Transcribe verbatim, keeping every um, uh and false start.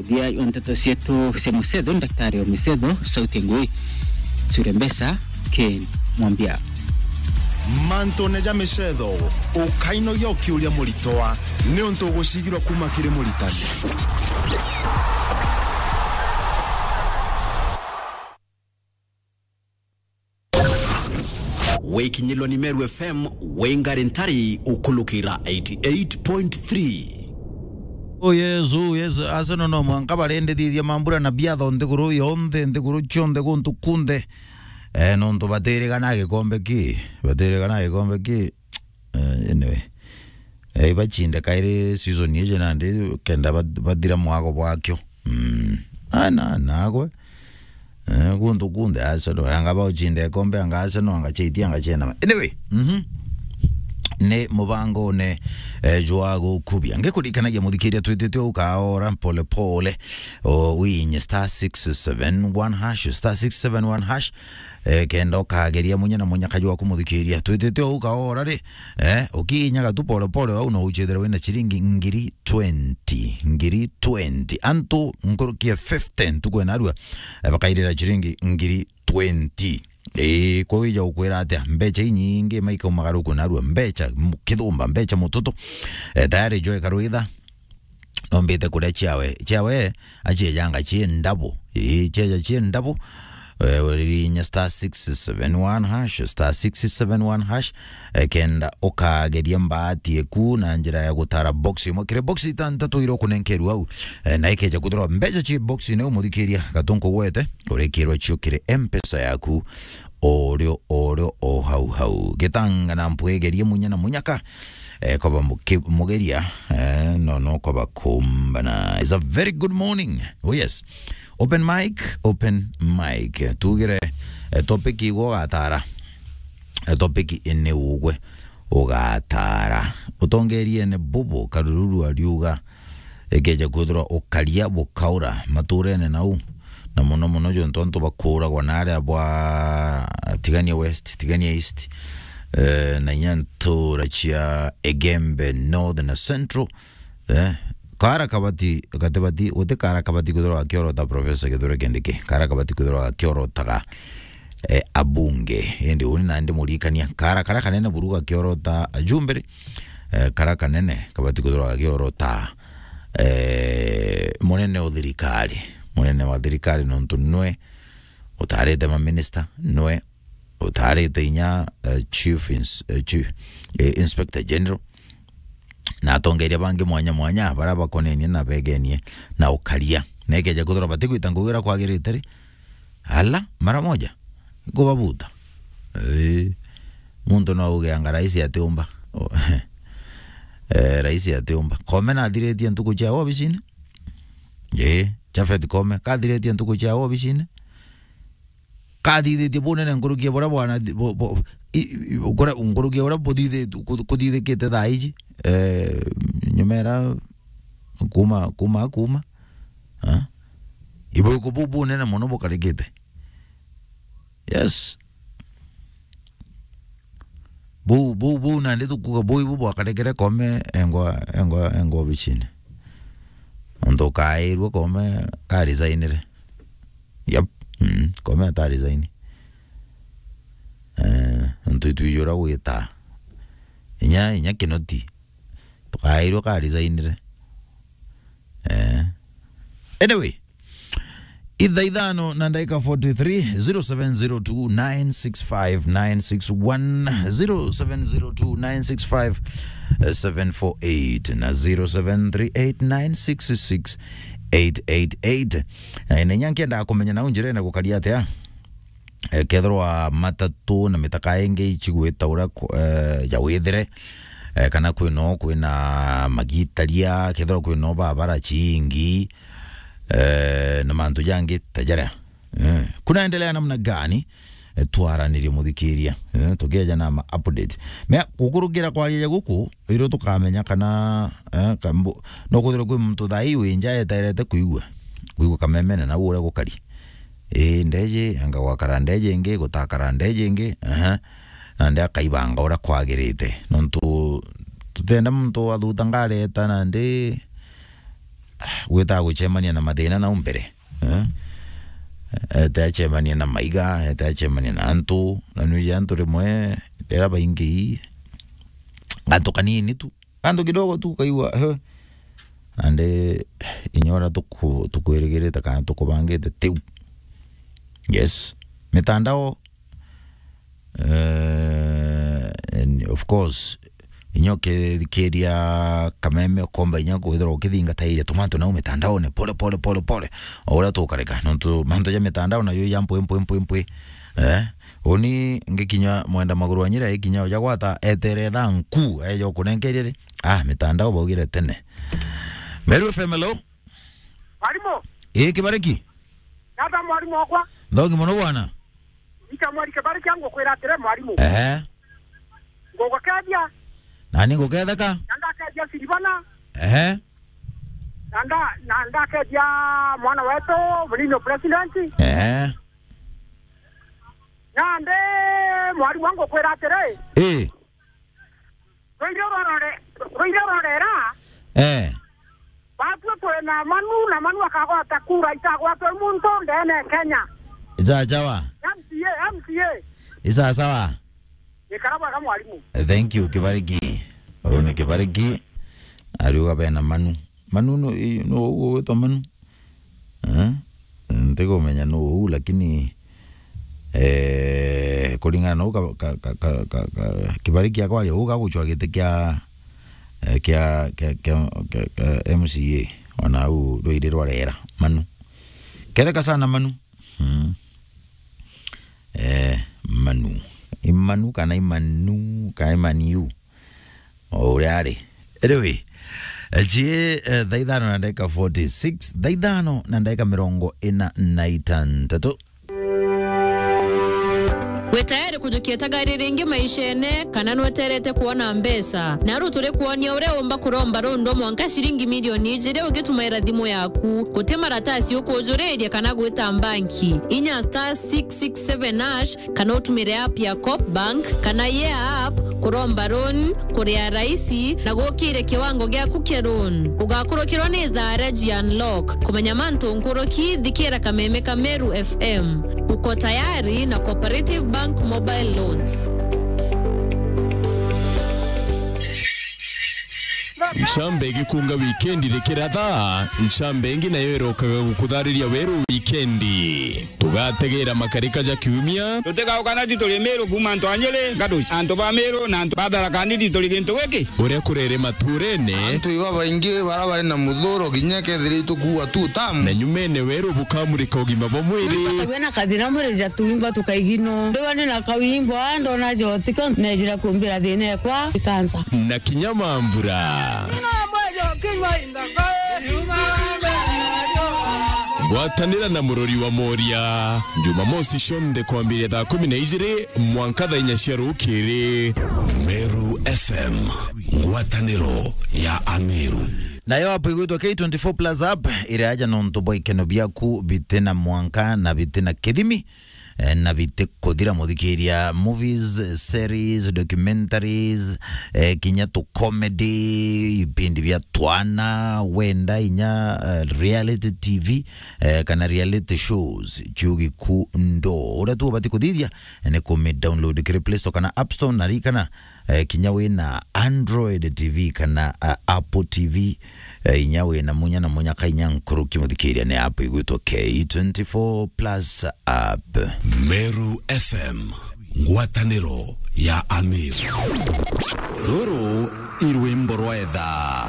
Thia wa nteto cietu cia mucetho, Daktari wa Misetho, Sauti Ngui, Sure Mbesa, Ken Mwambia. Mantune ja micetho, ukainogia ukiuria muritwa, niuntu ugucigirwa kuma kiri muritani. Wikinyilwa ni Meru F M, wingari ntari ukulukira eighty eight point three. Oh yes, oh yes, Arsenal no mwanka barendithithia mambura na biatho nthiguru yonthe, nthiguru cionthe, guntu kunthe. Eh, nontu batirigana gikombe ki, batirigana gikombe ki. Eh, anyway. Eh, ibachinde kairi season iji nandi kenda ba-, bathira mwago bwakio. Mm. Ana, nagwe. Eh, guntu kunthe Arsenal, anga baucinde ikombe, anga Arsenal, anga Chelsea, anga Chelsea. Anyway, mhm. Ni mubangone, eh, jwa gukubia. Ngikurikanagia muthikiria twitite ukaora pole pole. O, winye star six seven one hash, star six seven one hash. Eh, kenda ukageria munya na munya kaju waku muthikiria. Twitite ukaora ri, eh, ukiinyaga tu pole pole, au no uchethera wina chiringi ngiri twenty, ngiri twenty. Antu nkuruki ya fifty ntuku ena arua, eh, bakairira chiringi ngiri twenty. Ii, kwa wija ukwira atia? Mbecha inyingi maikaumaga ruku narua, mbecha mu-, kithumba, mbecha mututu. Eh, tayari Joy Karwitha, nombite kuria chiawe. Chiawe, achiejanga chie ndabu. Ii, chieja chie ndabu. Eh, urinya star six seven one hash, star six seven one hash. Eh, kenda ukageria mbaati eku na njira ya gutara box imwe. Kiri box itantatu iro kunenkerwa au. Eh, na ikeja kuthirwa mbecha chi box ine umuthikiria gatunku gwete, urikirwa cio kiri M-Pesa yaku. Orio, orio, o hau hau. Gitanga na mpwegerie munya na munyaka. Eh, koba muki-, mugeria, eh, no, no, koba kumbana. It's a very good morning. Oh yes. Open mic, open mic. Tugire, eh, topic igwo gatara. Eh, topic ine ugwe ugatara. Utongeriene bubu karururu ariuga, ikeja kwithirwa ukaria bukaura maturene nau, na muno muno jontu antu bakuragwa na aria bwa Tigania West, Tigania East, eh, na inya ntura cia Egembe North na Central, eh, kara kabati, gatibati, guti kara kabati kwithirwa gakiorota Professor Kithure Kindiki, kara kabati kwithirwa gakiorotaga, eh, abunge. Indi uni nandi murikania, kara karia kanene buru gakiorota ajumbe ri, eh, karia kanene kabati kwithirwa gakiorota, eh, munene o thirikari, munene wa thirikari, nontu nwe utarite maminista, nwe utarite inya, eh, chief ins-, eh, chief, eh, inspector general, na atongeria bangi mwanya mwanya, baria bakonenie na begenie na ukaria. Na ikeja kwithirwa batigwita ngugi uria kwagirite ri, ala, mara moja, ikubabuta. Ii, muntu no auge anga raisi atiumba. O, eh, raisi atiumba. Koome nathiritie ntuku cia obicine? Ii, Japhet Koome, kathiritie ntuku cia obicine? Kathithitie bunene nkuruki ya buria bwana thi-, bu-, bu-, i-, i-, kuria, nkuruki ya buria buthithitu-, ku-, kuthithikite thaa iji, eh, nyumera kuma, kuma, kuma, eh? Ibuku buu bunene mono bukarikite. Yes. Buu, buu, buu nandi tukuuga buu ibu bwakarekere Koome engwa, engwa, engwa obicine. Nontu kairue Koome ka resignire. Yep. Mm, Koome ata resign. Eh, nontu itwiji uria gwita. Inya, inya Kinoti. Tukairue ka resignire. Eh. Anyway, ithaa ithano na ndagika forty-three, zero seven zero two nine six five nine six one, zero seven zero two nine six five seven four eight na zero seven three eight nine six six eight eight eight. Eh, na inya nkiendaga kumenya nau njirene gukaria atia? Eh, kethirwa matatu na mitaka ingi icigwita uria ku-, eh, ya withire, eh, kana kwino kwina magitaria, kethirwa kwino babara ciingi, eh, na mantu jangi ta jaria. Eh, kunaendelea namna gani? Eh, twaranirie muthikiria. Eh, tukieja na ma update. Mea, gukurukira kwariria guku, iro tukamenya kana, eh, kambu-, no kwithirwa kwi muntu thaa ii wi nja eterete kuigua. Kuigua kamemene na uria gukari. Ii, ndeji, anga gwakara ndeji ingi, gutakara ndeji ingi, ehe. Nandi akaibanga uria kwagirite. Nontu tutenda muntu athuta ngari eta nandi, gwita gucemania na mathina nau mbere. Eh? Ete acemania na maiga, ete acemania na antu, na nwiji antu rimwe, riria baingi, gantu kanini tu, gantu kidogo tu, ukaigua, he. Nandi inya uria tuku-, tukwirigirite kana tukubangite tiu. Yes. Mitandao, eh, and of course, inya ukithikiria kameme, ukomba inya kwithirwa ukithingataire tumantu nau mitandaone, pole, pole, pole, pole. O uria tukareka, nontu mantu ja mitandao nayo ja mpwi, mpwi, mpwi, mpwi. Eh? Uni ngikinya mwenda maguru wa Nyeri, ikinya uja gwata, etere thaa nku, eja ukunenkeria ri? Ah, mitandao baugire tene. Meru F M, hello? Mwarimu. Ii, Kibariki? Nata mwarimu wakwa? Nthogi mono bwana. Ita mwari Kibariki, ngukwira atiri mwarimu. Ehe. Ngugukethia. Nani nguketheka? Na ndakethia Silvana. Ehe. Na nda-, na ndakethia mwana wetu, munini wa president. Ehe. Nandi mwarimu, ngukwira atiri. Ii. Rwire rorore-, rwire rorera. Eh. Batue kwina Manu, na Manu akagwata kura itagwatwe muntu ndene Kenya. Sawa sawa. M C A, M C A. Isawa sawa. Ikara bwega mwarimu. Thank you, Kibariki. Uyu ni Kibariki. Ariuga bena Manu. Manu no, i-, no ugwitwa Manu? Eh? Ntikumenya nu uu, lakini, eh, kuringana na uu ka, ka, ka, ka, ka, ka, Kibariki akwaria uu gagucwa giti kia, eh, kia, kia, kia, kia, kia M C A, ona uu rwiri rwa rera, Manu. Ketheka sana Manu. Mm. Eh, Manu. I Manu kana i Manu, kana i Maniu? O uria ari. Anyway, eh, ji, eh, thaa ithano na ndagika forty-six, thaa ithano na ndagika mirongo ina na itantatu. Wi tayari kujukia tagari ringi maishene, kana nweterete kwona mbeca? Naru turi kwonia uria umba kuromba rundu mwanka ciringi milioni ijiri ugitumaira thimu yaku. Guti maratasi ukujuriria kana gwita mbanki. Inya star six six seven hash kana utumire app ya Coop Bank kana Yeah App kuromba loan, kuria raisi na gukire kiwango giaku kia loan. Ugakurukirwa ni thaa ria ji unlock. Kumenya mantu nkuruki, thikira kameme ka Meru F M. Uko tayari na Cooperative Bank Mobile Loans. Ncambe igikunga wikendi rikiratha, ncambe ingi nayo irokaga gukuthariria weru wikendi. Tugategera makarika ja kiumia. Tutigauka na tituri Miru kuuma antu a Nyeri, Gaduci, antu ba Miru na antu ba Tharaka Nithi turi gintu giki. Uria kurere maturene. Antu iba baingi bara bari na muthuro kinya kethira itukuua tu tamu. Na nyumene weru bukamurika ugima bwa mwiri. Tugwe na kathina mwiri ja tuimba tukaigino. Ndiwa ni na kawimbo, ndona jotiko, nejira kumbira thina ekwa ikansa. Na kinya mambura. Ngwatanira na murori wa Moria, Jumamosi cionthe kwambiria thaa kumi na ijiri mwanka thaa inya cia rukiri. Meru F M, ngwataniro ya Ameru. Nayo app igwitwa K twenty-four Plus app, iri aja nontu bwa ikeno biaku bitina mwanka na bitina kithimi. Eh, na biti kuthira, muthikiria, movies, series, documentaries, eh, kinya tu comedy, ipindi bia twana, wenda inya, eh, reality T V, eh, kana reality shows, ciugiku ndo. Uria tu ubati kuthithia, eh, ni kumi download kiri Play Store kana App Store, na rikana, eh, kinya wina Android T V kana, eh, Apple T V, eh, inya wina munya na munya ka inya nkuruki, muthikiria, ni app igwitwa K twenty-four Plus app. Meru F M, ngwataniro ya Ameru. Ruru i rwimbo rwa etha.